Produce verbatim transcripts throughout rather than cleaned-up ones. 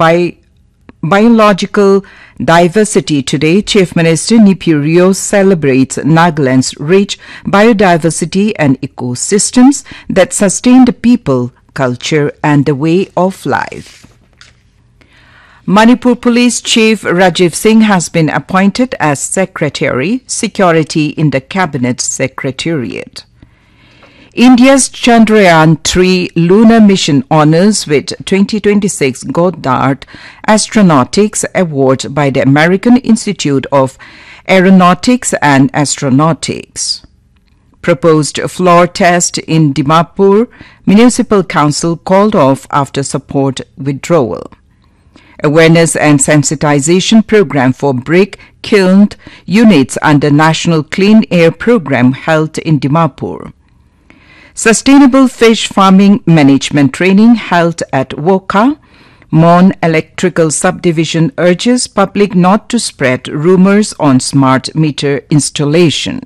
bi- biological diversity today, Chief Minister Neiphiu Rio celebrates Nagaland's rich biodiversity and ecosystems that sustain the people, culture, and the way of life. Manipur Police Chief Rajiv Singh has been appointed as Secretary, Security in the Cabinet Secretariat. India's Chandrayaan three lunar mission honors with twenty twenty-six Goddard Astronautics Award by the American Institute of Aeronautics and Astronautics. Proposed floor test in Dimapur Municipal Council called off after support withdrawal. Awareness and sensitization program for brick kiln units under National Clean Air Program held in Dimapur. Sustainable fish farming management training held at Wokha. Mon Electrical Subdivision urges public not to spread rumors on smart meter installation.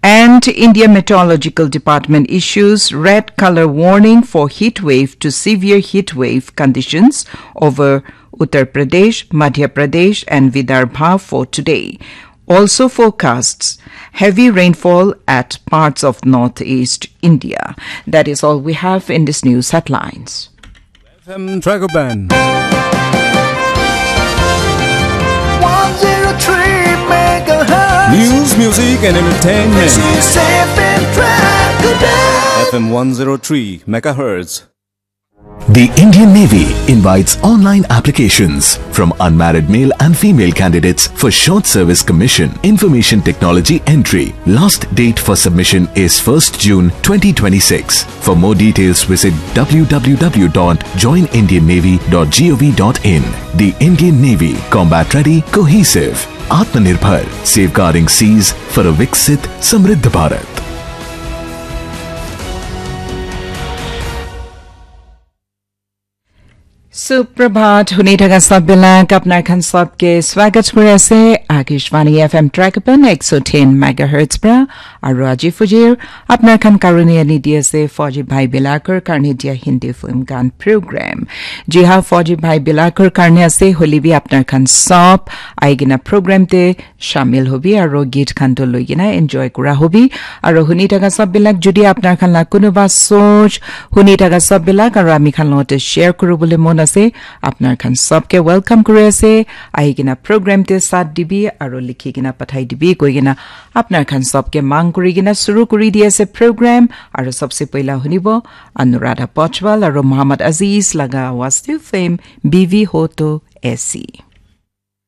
And India Meteorological Department issues red color warning for heat wave to severe heat wave conditions over Uttar Pradesh, Madhya Pradesh, and Vidarbha for today. Also forecasts heavy rainfall at parts of northeast India. That is all we have in this news headlines. F M Dragon Band. One zero three megahertz. News, music, and entertainment. This is F M Dragon Band. F M one zero three megahertz. The Indian Navy invites online applications from unmarried male and female candidates for short service commission, information technology entry. Last date for submission is first June twenty twenty-six. For more details, visit w w w dot join indian navy dot gov dot in. The Indian Navy, combat ready, cohesive, Atmanirbhar, safeguarding seas for a Viksit Samriddh Bharat. Suprabhat, huni thaka sab bilak, apnar khan sab ke swagat kuri ase, Akashvani F M Dragon Band ek so tin megahertz pra, aru aji fujir, apnar khan karone ani di ase, Fauji Bhai Bilakor karne dia Hindi film gan program. Ji ha, Fauji Bhai Bilakor karne ase, holi bi apnar khan sab, aigina program te, shamil hobi aro git khan to loi kena enjoy kura hobi. Aro huni thaka sab bilak jodi apnar khan la kunuba soch huni thaka sab bilak aro ami khan logote share kuribole mon ase, apnar khan sab ke welcome kuri ase. Ahi kena program te sat dibi aro likhi kena pathai dibi koi kena apnar khan sab ke mang kuri kena suru kuri di ase program. Aro sabse poila hunibo Anuradha Pochwal aro Muhammad Aziz laga awaz te film Bivi Ho To Aisi.